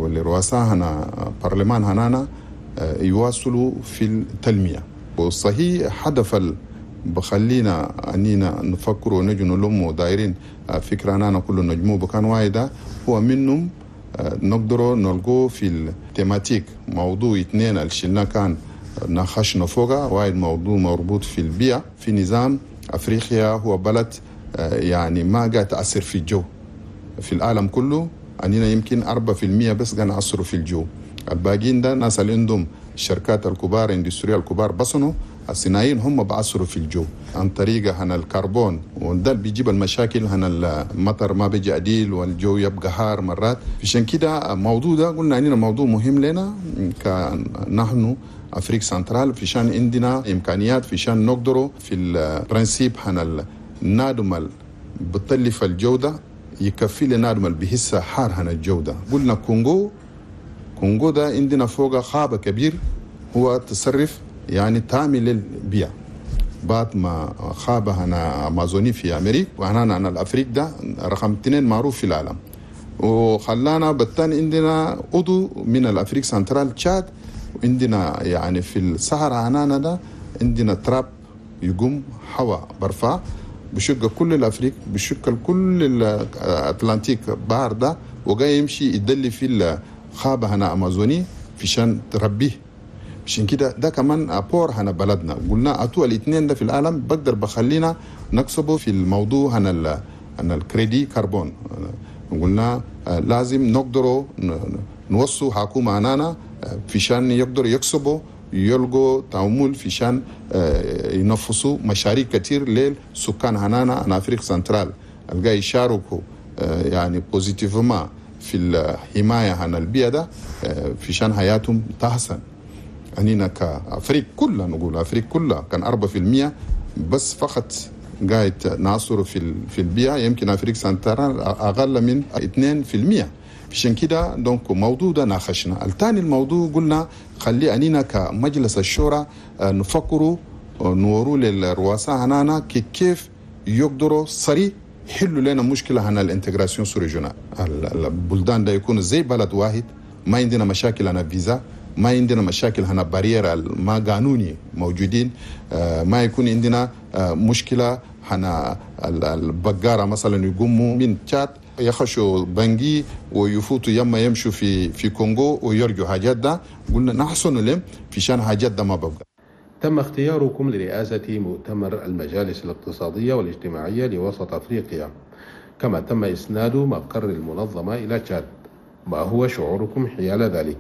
والرؤساء هنا برلمان هنانا يواصلوا في التنمية. وصحيح هدف بخلينا أننا نفكر ونجي نلم دايرين فكرة أننا كله نجمو بكان واحدة، هو منهم نقدروا نلقوه في ال thématique موضوع اثنين اللي شلنا كان ناقشنا فوقها. واحد موضوع مربوط في البيئة في نظام أفريقيا، هو بلد يعني ما قاعد تأثر في الجو في العالم كله، أننا يمكن 4% بس قاعد نأثروا في الجو. الباقيين ده ناس اللي عندهم الشركات الكبار industries الكبار بصنوا الصناعيين هم بأثروا في الجو عن طريقة هنا الكربون، وده اللي بيجيب المشاكل هنا المطر ما بيجي عديل والجو يبقى حار مرات. عشان كده الموضوع ده قلنا اننا موضوع مهم لنا كنحن Afrique centrale، في شان عندنا امكانيات، في شان نقدروا في ال principe هنا النادم بتلف الجودة يكفي لنادم اللي بيحس حار هنا الجودة. قلنا كونغو ده عندنا فوق غابة كبير هو تصرف يعني تامي للبيئة بعد ما غابة هنا أمازوني في أمريكا، وهنا أنا الأفريق ده رقم 2 معروف في العالم. وخلانا بالتاني عندنا عضو من ال Afrique centrale تشاد، وعندنا يعني في الصحراء هنا ده عندنا تراب يقوم هواء برفع بشق كل الأفريق، بشق كل ال Atlantique بحر ده، وجاي يمشي يدلي في الغابة هنا أمازوني في شان تربيه. عشان كده ده كمان apport هنا بلدنا. قلنا اتو الاثنين ده في العالم بقدر بخلينا نكسبه في الموضوع هنا هنا ال crédit carbone. قلنا لازم نقدروا نوصوا حكومة هنانا في شان يقدروا يكسبوا يلقوا تعامل في شان ينفسوا مشاريع كتير للسكان هنانا هنا Afrique centrale الجاي يشاركوا يعني positivement في الحماية هنا البيئة ده في شان حياتهم تحسن. أننا ك Afrique كلها نقول Afrique كلها كان 4% بس فقط قاعد نعصر في البيئة، يمكن Afrique centrale أقل من 2%. عشان كده donc موضوع ده ناقشنا. الثاني الموضوع قلنا خلي أننا كمجلس الشورى نفكروا نوروا للرؤساء هنانا كيف يقدروا سريع يحلوا لنا مشكلة هنا ال intégration sous-régionale. البلدان ده يكون زي بلد واحد، ما عندنا مشاكل هنا فيزا، ما عندنا مشاكل هنا barrières ما قانوني موجودين، ما يكون عندنا مشكلة هنا البقارة مثلا يقوموا من تشاد يخشوا بنجي ويفوتوا يما يمشوا في كونغو ويرجوا حاجات ده. قلنا نحسن لهم في شان حاجات ده ما ببقى. تم اختياركم لرئاسة مؤتمر المجالس الاقتصادية والاجتماعية لوسط أفريقيا، كما تم إسناد مقر المنظمة إلى تشاد. ما هو شعوركم حيال ذلك؟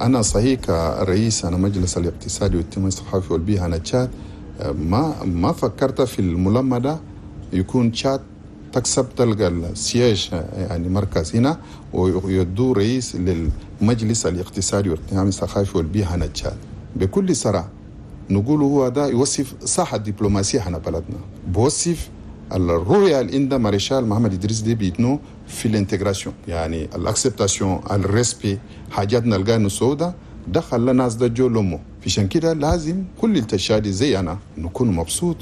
أنا صحيح كرئيس أنا مجلس الاقتصادي والاجتماعي الثقافي والبيئة أنا تشاد ما فكرت في الملمة ده يكون تشاد تكسب تلقى ال siège يعني مركز هنا ويدو رئيس للمجلس الاقتصادي والاجتماعي الثقافي والبيئة هنا تشاد. بكل صراحة نقول هو ده يوصف صح الدبلوماسية هنا بلدنا، بوصف الرؤية اللي عند مارشال محمد إدريس ديبي إتنو في ال intégration، يعني ال acceptation ال respect حاجاتنا القانون السوداء دخل لناس ده جو لمو. عشان كده لازم كل التشادي زي أنا نكون مبسوط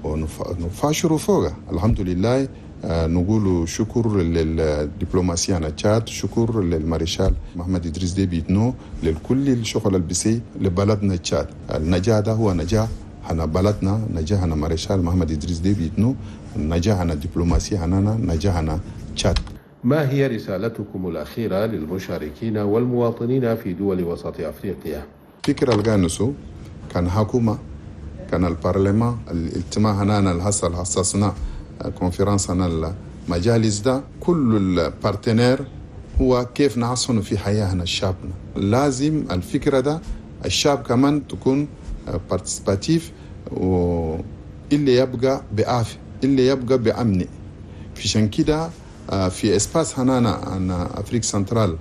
ونفاشروا فوقه. الحمد لله نقول شكر للدبلوماسية أنا تشاد، شكر للمارشال محمد إدريس ديبي إتنو لكل الشغل البسي لبلدنا تشاد. النجاح ده هو نجاح هنا بلدنا، نجاح هنا مارشال محمد إدريس ديبي إتنو، نجاح هنا دبلوماسية هنا، نجاح هنا تشاد. ما هي رسالتكم الأخيرة للمشاركين والمواطنين في دول وسط أفريقيا؟ فكرة الغانسو كان حكومة، كان البرلمان، الاجتماع هنا الحصل حصصنا conférence هنا المجالس ده كل ال partenaires هو كيف نحسن في حياة شعبنا. لازم الفكرة ده الشعب كمان تكون participatif، واللي يبقى بعافية، اللي يبقى بأمن. عشان كده في espace هنانا أنا Afrique centrale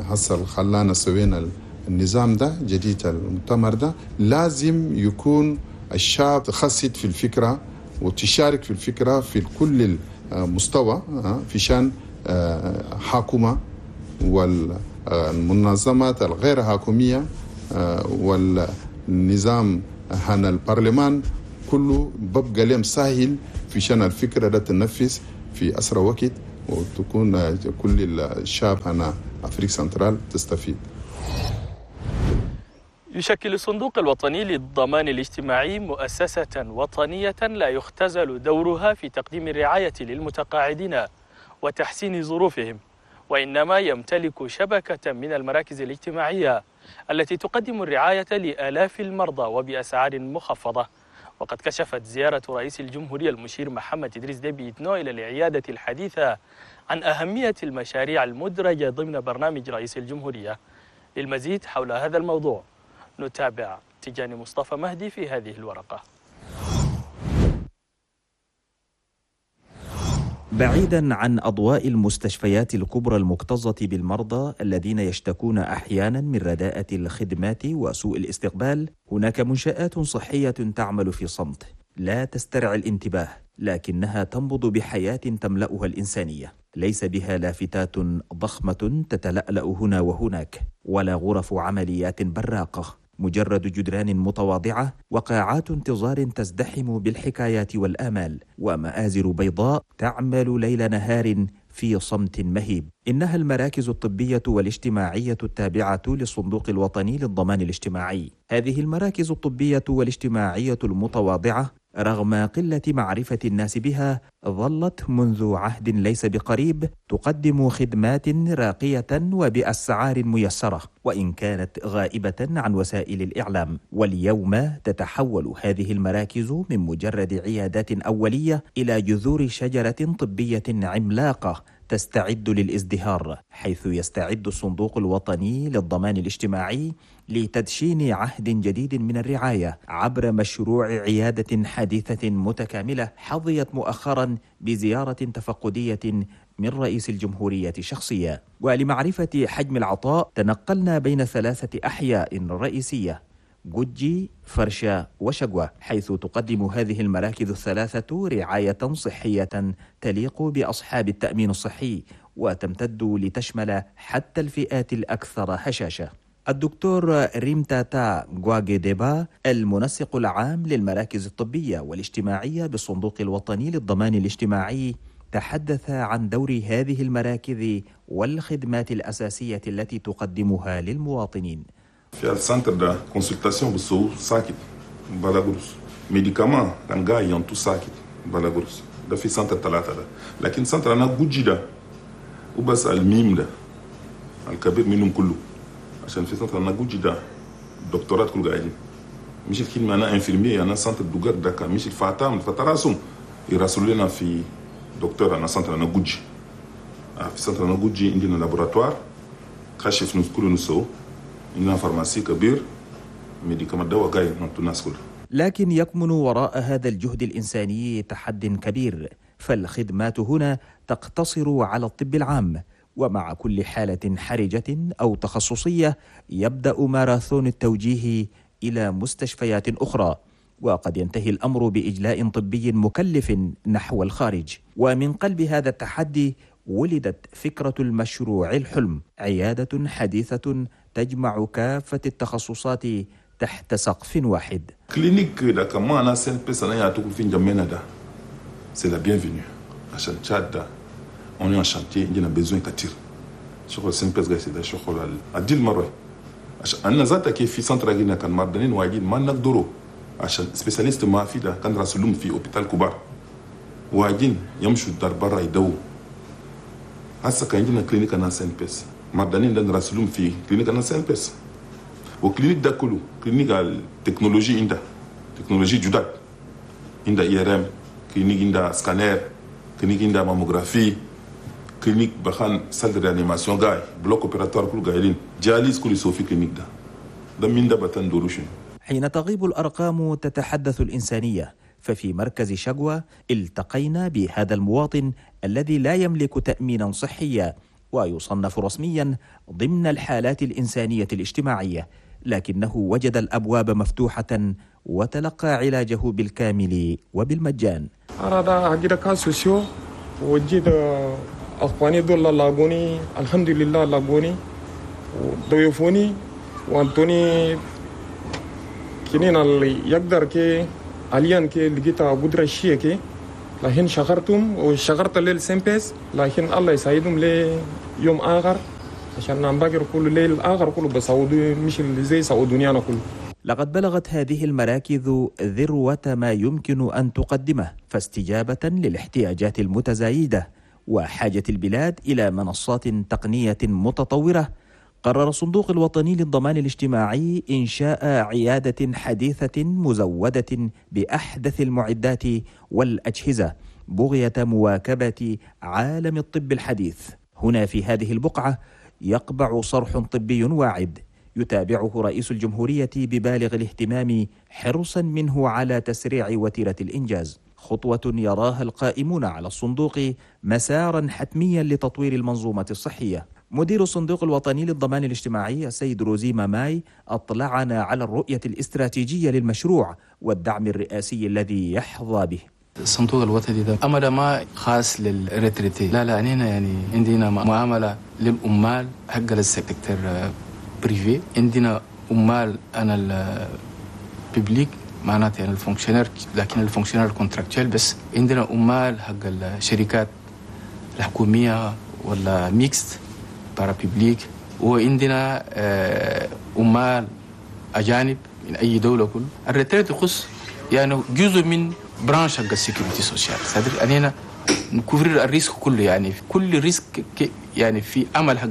حصل خلانا سوينا النظام ده جديد المؤتمر ده، لازم يكون الشعب تخصص في الفكرة وتشارك في الفكرة في كل المستوى في شان حكومة والمنظمات الغير حكومية والنظام هنا البرلمان كله ببقى لهم سهل في شان الفكرة ده تنفذ في أسرع وقت، وتكون كل الشعب هنا Afrique centrale تستفيد. يشكل الصندوق الوطني للضمان الاجتماعي مؤسسة وطنية لا يختزل دورها في تقديم الرعاية للمتقاعدين وتحسين ظروفهم، وإنما يمتلك شبكة من المراكز الاجتماعية التي تقدم الرعاية لآلاف المرضى وبأسعار مخفضة. وقد كشفت زيارة رئيس الجمهورية المشير محمد إدريس ديبي إتنو إلى العيادة الحديثة عن أهمية المشاريع المدرجة ضمن برنامج رئيس الجمهورية. للمزيد حول هذا الموضوع نتابع تجاني مصطفى مهدي في هذه الورقة. بعيدا عن أضواء المستشفيات الكبرى المكتظة بالمرضى الذين يشتكون أحيانا من رداءة الخدمات وسوء الاستقبال، هناك منشآت صحية تعمل في صمت لا تسترعي الانتباه، لكنها تنبض بحياة تملأها الإنسانية. ليس بها لافتات ضخمة تتلألأ هنا وهناك، ولا غرف عمليات براقة، مجرد جدران متواضعة وقاعات انتظار تزدحم بالحكايات والآمال، ومآزر بيضاء تعمل ليل نهار في صمت مهيب. إنها المراكز الطبية والاجتماعية التابعة للصندوق الوطني للضمان الاجتماعي. هذه المراكز الطبية والاجتماعية المتواضعة رغم قلة معرفة الناس بها ظلت منذ عهد ليس بقريب تقدم خدمات راقية وبأسعار ميسرة، وإن كانت غائبة عن وسائل الإعلام. واليوم تتحول هذه المراكز من مجرد عيادات أولية إلى جذور شجرة طبية عملاقة تستعد للازدهار، حيث يستعد الصندوق الوطني للضمان الاجتماعي لتدشين عهد جديد من الرعاية عبر مشروع عيادة حديثة متكاملة حظيت مؤخرا بزيارة تفقدية من رئيس الجمهورية شخصيا. ولمعرفة حجم العطاء تنقلنا بين 3 أحياء رئيسية: جوجي، فرشة، وشقوة، حيث تقدم هذه المراكز الثلاثة رعاية صحية تليق بأصحاب التأمين الصحي، وتمتد لتشمل حتى الفئات الأكثر هشاشة. الدكتور ريمتاتا غواغيديبا المنسق العام للمراكز الطبية والاجتماعية بالصندوق الوطني للضمان الاجتماعي تحدث عن دور هذه المراكز والخدمات الأساسية التي تقدمها للمواطنين. في ال centre ده consultation بسو ساكت بلا قروس، médicaments كان جاي ينطو ساكت بلا قروس، ده في centre 3 ده. لكن centre انا جوجي ده وبس الميم ده الكبير منهم كله، عشان في centre انا جوجي ده الدكتورات كل قاعدين، مش الكلمة انا infirmier انا centre دوغر ده كان مش الفاتام فتراسهم يراسلوا لنا في دكتور انا centre انا جوجي. في centre انا جوجي عندنا laboratoire كشف نص كله نسو، إنها pharmacie كبير médicaments دواء جاي الناس كلها. لكن يكمن وراء هذا الجهد الإنساني تحد كبير، فالخدمات هنا تقتصر على الطب العام، ومع كل حالة حرجة أو تخصصية يبدأ ماراثون التوجيه إلى مستشفيات أخرى، وقد ينتهي الأمر بإجلاء طبي مكلف نحو الخارج. ومن قلب هذا التحدي ولدت فكرة المشروع الحلم، عيادة حديثة تجمع كافة التخصصات تحت سقف واحد. clinique ده كمان أنا CNPS أنا يعطوك في جمينا ده c'est la bienvenue عشان تشاد ده on est en chantier عندنا besoin كتير شغل CNPS قاعد ده شغل عديل مرة عشان أنا ذاتك في centre جينا كان مردانين واجين ما نقدروا عشان spécialiste ما في ده كان راسلهم في hôpital كبار واجين يمشوا الدار برا يدو. هسه كان عندنا clinique أنا CNPS مردانين ده نراسلهم في clinique أنا CNPS، و clinique ده كله clinique التكنولوجي عندها تكنولوجي جداد، عندها IRM، clinique عندها scanner، clinique عندها mammographie، clinique بخان salle de réanimation جاي، bloc opératoire كله قايلين، dialyse كله يسوي في clinique ده ده من ده بتن دولوشن. حين تغيب الأرقام تتحدث الإنسانية، ففي مركز شقوة التقينا بهذا المواطن الذي لا يملك تأمينا صحيا ويصنف رسميا ضمن الحالات الإنسانية الاجتماعية، لكنه وجد الأبواب مفتوحة وتلقى علاجه بالكامل وبالمجان. أنا دا حقيقة كاسوسيو وجيت أخواني دول لاقوني الحمد لله، لاقوني وضيفوني وأنتوني كنين اللي يقدر كي حاليا كي لقيت قدرة شيء كي، لكن شغرتهم وشغرت لل CNPS، لكن الله يساعدهم ليوم آخر. عشان نباكر كل ليل اخر كله بسعودي مش زي سعودوني انا كله. لقد بلغت هذه المراكز ذروة ما يمكن أن تقدمه، فاستجابة للاحتياجات المتزايدة وحاجة البلاد إلى منصات تقنية متطورة، قرر الصندوق الوطني للضمان الاجتماعي إنشاء عيادة حديثة مزودة بأحدث المعدات والأجهزة بغية مواكبة عالم الطب الحديث. هنا في هذه البقعة يقبع صرح طبي واعد يتابعه رئيس الجمهورية ببالغ الاهتمام حرصا منه على تسريع وتيرة الإنجاز، خطوة يراها القائمون على الصندوق مسارا حتميا لتطوير المنظومة الصحية. مدير الصندوق الوطني للضمان الاجتماعي السيد روزي ماماي أطلعنا على الرؤية الاستراتيجية للمشروع والدعم الرئاسي الذي يحظى به. الصندوق الوطني ده أمر ما خاص لل retraités، لا لا، هنا يعني عندنا معاملة للأمال حق ال secteur privé، عندنا عمال أنا ال public معناته يعني ال fonctionnaire، لكن ال fonctionnaire contractuel بس. عندنا عمال حق الشركات الحكومية ولا mixte parapublique، وعندنا عمال أجانب من أي دولة. كل ال retraite يخص يعني جزء من branche حق ال sécurité sociale، c'est-à-dire أننا ن couvrir ال risque كله، يعني في كل risque يعني في عمل حق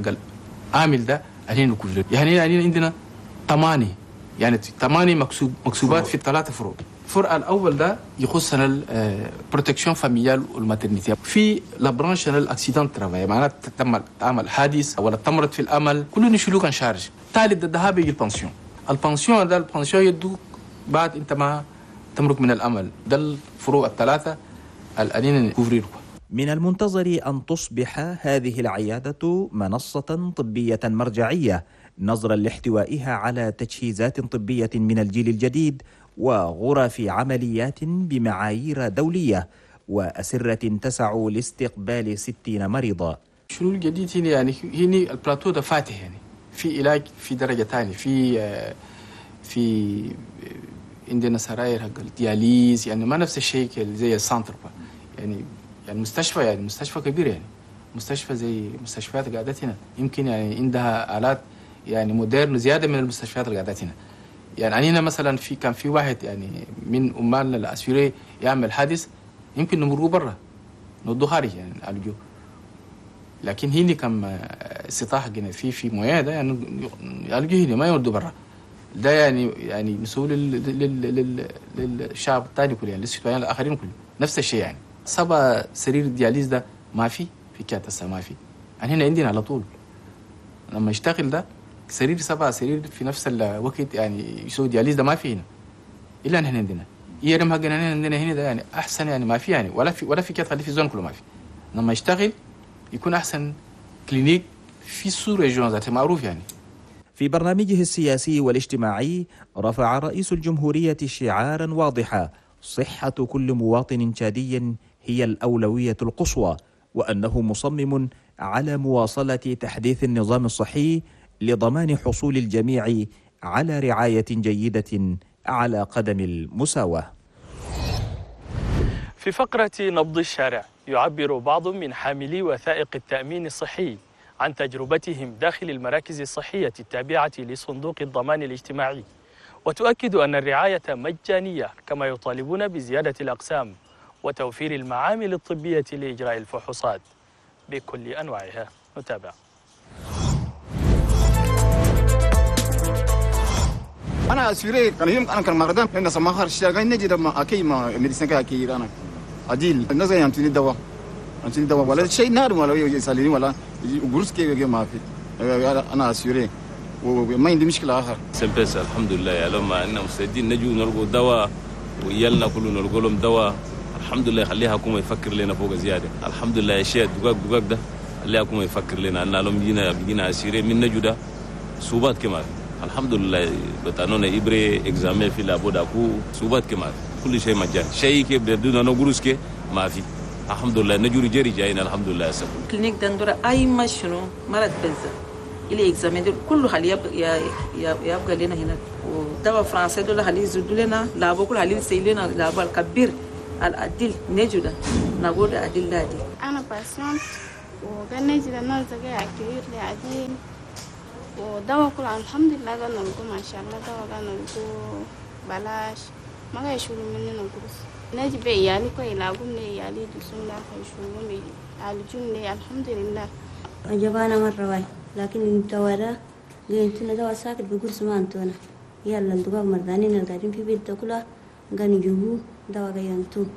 العامل ده أننا ن couvrir. يعني عندنا ثمانية، يعني ثمانية مكسوبات في ثلاثة فروع. الفرع الأول ده يخصنا ال protection familiale وال maternité، في la branche ال accident travail، معناته تم تعمل حادث ولا تمرض في العمل كله نشيلوك en charge. ثالث ده ذهاب يجي ال pension، ال pension ده ال pension يدوك بعد انت ما تمرق من العمل. ده الفروع الثلاثة الأنين ن couvrir. من المنتظر أن تصبح هذه العيادة منصة طبية مرجعية نظرا لاحتوائها على تجهيزات طبية من الجيل الجديد وغرف عمليات بمعايير دولية وأسرة تسع لاستقبال 60 مريضا. شنو الجديد هنا؟ يعني هنا البلاتو ده فاتح، يعني في علاج في درجة ثانية، في عندنا سراير حق ال dialyse، يعني ما نفس الشيء زي ال centre، يعني مستشفى، يعني مستشفى كبير، يعني مستشفى زي مستشفيات قاعدت هنا، يمكن يعني عندها آلات يعني modernes زيادة من المستشفيات اللي قاعدت هنا. يعني هنا مثلا في كان في واحد يعني من عمالنا ال assurés يعمل حادث يمكن نمروا برا نودو خارج يعني نعالجوه، لكن هنا كم استطاع حقنا في moyens ده يعني يعالجوه هنا ما يودوا برا. ده يعني مسؤول للشعب الثاني كله، يعني لل citoyens الاخرين كله نفس الشيء. يعني سبع سرير dialyse ده ما في كاتسا ما في، يعني هنا عندنا على طول لما يشتغل ده سرير 7 سرير في نفس الوقت يعني يسوي dialyse ده ما في هنا الا نحن عندنا. IRM حقنا عندنا هنا ده يعني احسن، يعني ما في يعني ولا في كات في zone كله ما في. لما يشتغل يكون احسن clinique في sous-région ذاته معروف يعني. في برنامجه السياسي والاجتماعي رفع رئيس الجمهورية شعارا واضحا: صحة كل مواطن تشادي هي الأولوية القصوى، وأنه مصمم على مواصلة تحديث النظام الصحي لضمان حصول الجميع على رعاية جيدة على قدم المساواة. في فقرة نبض الشارع يعبر بعض من حاملي وثائق التأمين الصحي عن تجربتهم داخل المراكز الصحية التابعة لصندوق الضمان الاجتماعي، وتؤكد أن الرعاية مجانية، كما يطالبون بزيادة الأقسام وتوفير المعامل الطبية لإجراء الفحوصات بكل أنواعها. نتابع. أنا assuré كان يوم أنا كان مرضان لأن سماخر الشارع نجي ما أكيد ما médecin كأكيد أنا عديل الناس ينتني دواء ينتني دواء ولا شيء نار ولا يسالني ولا قرص كي ما في. أنا assuré وما عندي مشكلة آخر. CNPS الحمد لله، يا لما إننا مستعدين نجوا نلقوا دواء ويلنا كله نلقوا لهم دواء الحمد لله. خليها حكومة يفكر لنا فوق زيادة الحمد لله. الشيء دقاق دقاق ده خليها حكومة يفكر لنا أن لهم جينا assurés من نجوا ده صوبات كمان الحمد لله. بتانونا إبرة examen في labo داكو صوبات كمان كل شيء مجان شيء كي بدون نقولش كي ما في الحمد لله. نجوري جري جايين الحمد لله. سكون clinique دندورة أي ما شنو مرض بنزا إلى examen دول كله خلي يبقى لنا هنا، ودواء فرنسي دول خلي يزودوا لنا labo كل خلي يسيل لنا labo الكبير العديل نجودا نقول عديل دادي. أنا patiente وقال نجي الناس ده accueillir لي عديل، ودواء كله الحمد لله قال نلقو ما شاء الله، دواء قال نلقو بلاش، ما قاعد يشيلوا مننا قروش. نجي بعيالي كوي يلاقون لي عيالي يدوسون لا يشيلون يعالجون لي الحمد لله. عجبانا مرة واي، لكن الدواء ده قلت دواء ساكت بقرص ما أنتونا، يلا الدواء مردانين اللي قاعدين في بيت كلها قال يجيبوه دواء قاعد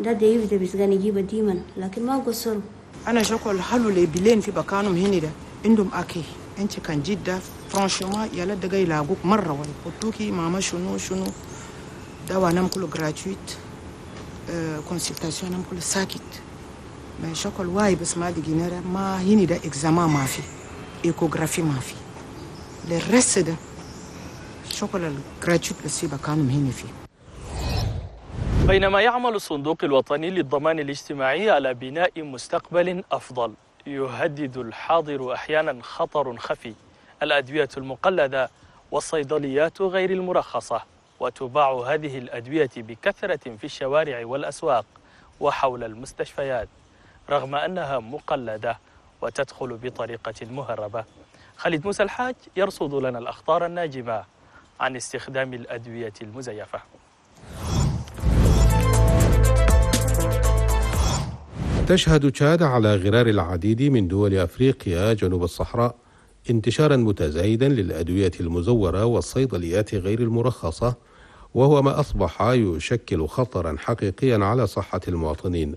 ده ديف ده بس قاعد يجيبه ديما، لكن ما قصروا. أنا شكل حلو لي بلين في بكانهم هنا ده عندهم أكي أنت كان جدة franchement يلا دقا يلاقوك مرة واي قلتوكي ماما شنو شنو دواء نام كله gratuit، consultation نام كله ساكت. ما شكل واي بس ما دقينا ما هنا ده examen ما في، échographie ما في، le reste ده شكل ال gratuit بس في بكانهم هنا فيه. بينما يعمل الصندوق الوطني للضمان الاجتماعي على بناء مستقبل أفضل، يهدد الحاضر أحيانا خطر خفي: الأدوية المقلدة والصيدليات غير المرخصة، وتباع هذه الأدوية بكثرة في الشوارع والأسواق وحول المستشفيات رغم أنها مقلدة وتدخل بطريقة مهربة. خالد موسى الحاج يرصد لنا الأخطار الناجمة عن استخدام الأدوية المزيفة. تشهد تشاد على غرار العديد من دول أفريقيا جنوب الصحراء انتشارا متزايدا للأدوية المزورة والصيدليات غير المرخصة، وهو ما أصبح يشكل خطرا حقيقيا على صحة المواطنين.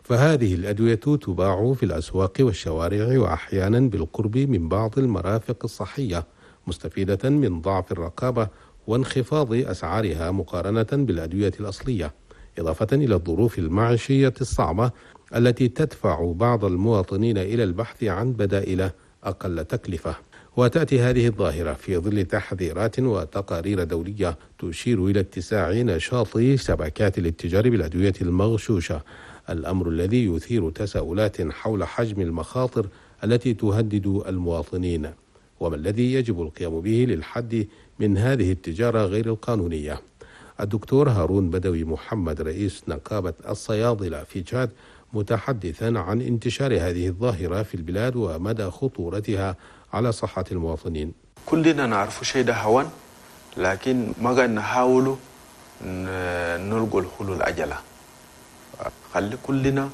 فهذه الأدوية تباع في الأسواق والشوارع وأحيانا بالقرب من بعض المرافق الصحية، مستفيدة من ضعف الرقابة وانخفاض أسعارها مقارنة بالأدوية الأصلية، إضافة إلى الظروف المعيشية الصعبة التي تدفع بعض المواطنين إلى البحث عن بدائل أقل تكلفة. وتأتي هذه الظاهرة في ظل تحذيرات وتقارير دولية تشير إلى اتساع نشاط شبكات الاتجار بالأدوية المغشوشة، الأمر الذي يثير تساؤلات حول حجم المخاطر التي تهدد المواطنين، وما الذي يجب القيام به للحد من هذه التجارة غير القانونية. الدكتور هارون بدوي محمد رئيس نقابة الصيادلة في تشاد متحدثا عن انتشار هذه الظاهرة في البلاد ومدى خطورتها على صحة المواطنين. كلنا نعرف شيء ده هوان، لكن ما قاعد نحاولوا نلقوا الحلول عجلة. خلي كلنا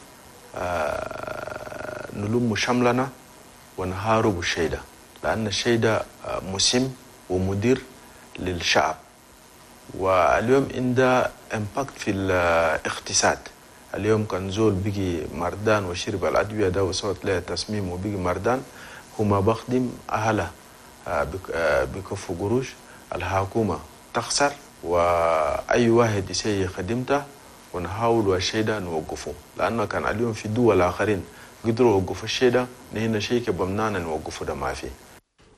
نلم شملنا ونهارب الشيء ده، لأن الشيء ده مسم ومدير للشعب، واليوم عنده impact في الاقتصاد. اليوم كان زول بيجي مردان وشرب الأدوية ده وصوت له تسميم وبيجي مردان، هما بخدم أهله بكفوا قروش، الحكومة تخسر، وأي واحد يسيء خدمته ونحاول الشيء ده نوقفه، لأنه كان اليوم في دول آخرين قدروا يوقفوا الشيء ده، نحن شيء كبمنانا نوقفه ده ما فيه.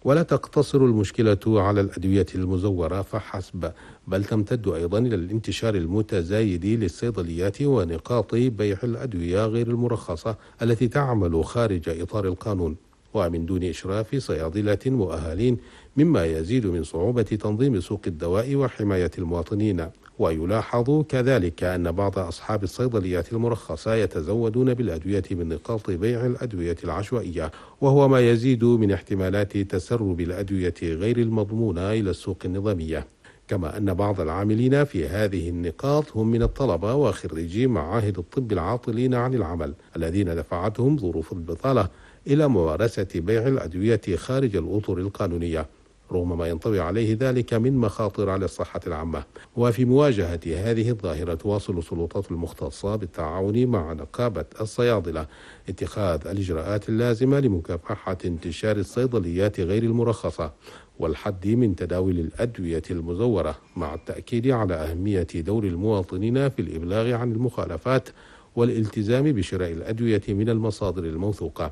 ولا تقتصر المشكلة على الأدوية المزورة فحسب، بل تمتد أيضا إلى الانتشار المتزايد للصيدليات ونقاط بيع الأدوية غير المرخصة التي تعمل خارج إطار القانون ومن دون إشراف صيادلة مؤهلين، مما يزيد من صعوبة تنظيم سوق الدواء وحماية المواطنين. ويلاحظ كذلك أن بعض أصحاب الصيدليات المرخصة يتزودون بالأدوية من نقاط بيع الأدوية العشوائية، وهو ما يزيد من احتمالات تسرب الأدوية غير المضمونة إلى السوق النظامية. كما أن بعض العاملين في هذه النقاط هم من الطلبة وخريجي معاهد الطب العاطلين عن العمل الذين دفعتهم ظروف البطالة إلى ممارسة بيع الأدوية خارج الأطر القانونية، رغم ما ينطوي عليه ذلك من مخاطر على الصحة العامة. وفي مواجهة هذه الظاهرة تواصل السلطات المختصة بالتعاون مع نقابة الصيادلة اتخاذ الإجراءات اللازمة لمكافحة انتشار الصيدليات غير المرخصة والحد من تداول الأدوية المزورة، مع التأكيد على أهمية دور المواطنين في الإبلاغ عن المخالفات والالتزام بشراء الأدوية من المصادر الموثوقة.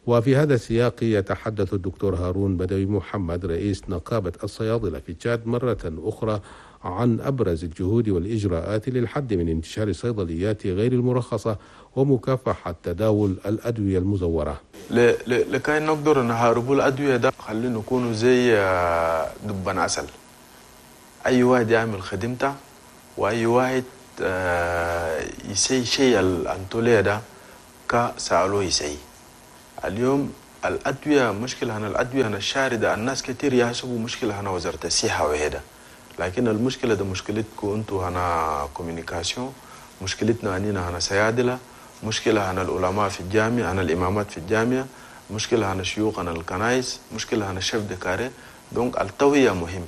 وفي هذا السياق يتحدث الدكتور هارون بدوي محمد رئيس نقابة الصيادلة في تشاد مرة أخرى عن أبرز الجهود والإجراءات للحد من انتشار الصيدليات غير المرخصة ومكافحة تداول الأدوية المزورة. لكي نقدر نهاربوا الأدوية ده خلينا نكونوا زي دبان عسل، أي واحد يعمل خدمته وأي واحد يسي شيء الأنتولية ده كسألوه يسي. اليوم الأدوية مشكلة هنا، الأدوية هنا الشاردة، الناس كتير يحسبوا مشكلة هنا وزارة الصحة وهذا، لكن المشكلة ده مشكلتكم انتوا هنا communication، مشكلتنا أنينا هنا صيادلة، مشكلة هنا العلماء في الجامعة، هنا الإمامات في الجامعة، مشكلة هنا شيوخ هنا الكنائس، مشكلة هنا chefs de carré. donc التوعية مهم،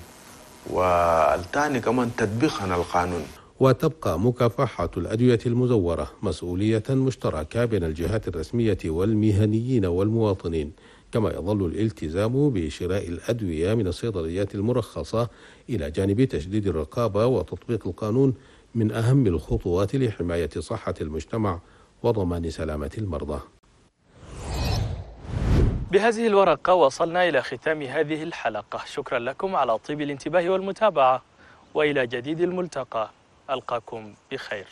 والثاني كمان تطبيق هنا القانون. وتبقى مكافحة الأدوية المزورة مسؤولية مشتركة بين الجهات الرسمية والمهنيين والمواطنين، كما يظل الالتزام بشراء الأدوية من الصيدليات المرخصة إلى جانب تشديد الرقابة وتطبيق القانون من أهم الخطوات لحماية صحة المجتمع وضمان سلامة المرضى. بهذه الورقة وصلنا إلى ختام هذه الحلقة. شكرا لكم على طيب الانتباه والمتابعة، وإلى جديد الملتقى ألقاكم بخير.